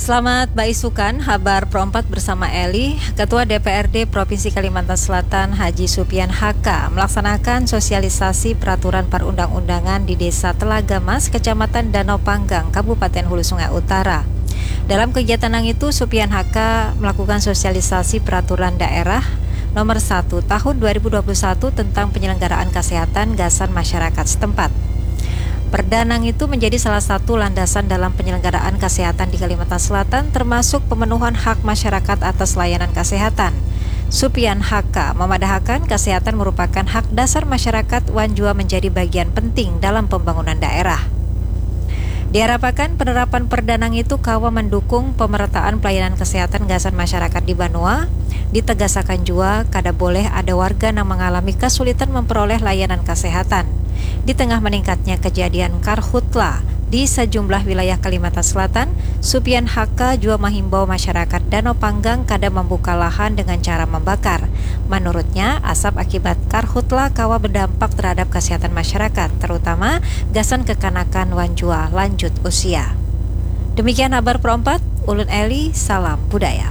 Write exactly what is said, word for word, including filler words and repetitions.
Selamat baisukan, habar Pro empat bersama Eli. Ketua D P R D Provinsi Kalimantan Selatan Haji Supian H K melaksanakan sosialisasi peraturan perundang-undangan di Desa Telaga Mas, Kecamatan Danau Panggang, Kabupaten Hulu Sungai Utara. Dalam kegiatan nang itu, Supian H K melakukan sosialisasi peraturan daerah nomor satu tahun dua ribu dua puluh satu tentang penyelenggaraan kesehatan gasan masyarakat setempat. Perda nang itu menjadi salah satu landasan dalam penyelenggaraan kesehatan di Kalimantan Selatan, termasuk pemenuhan hak masyarakat atas layanan kesehatan. Supian H K memadahakan kesehatan merupakan hak dasar masyarakat wan jua menjadi bagian penting dalam pembangunan daerah. Diharapkan penerapan perda nang itu kawa mendukung pemerataan pelayanan kesehatan gasan masyarakat di banua. Ditegasakan jua, kada boleh ada warga nang mengalami kesulitan memperoleh layanan kesehatan. Di tengah meningkatnya kejadian karhutla di sejumlah wilayah Kalimantan Selatan, Supian H K jua menghimbau masyarakat Danau Panggang kada membuka lahan dengan cara membakar. Menurutnya, asap akibat karhutla kawa berdampak terhadap kesehatan masyarakat, terutama gasan kekanakan wan jua lanjut usia. Demikian habar Pro empat, ulun Eli, salam budaya.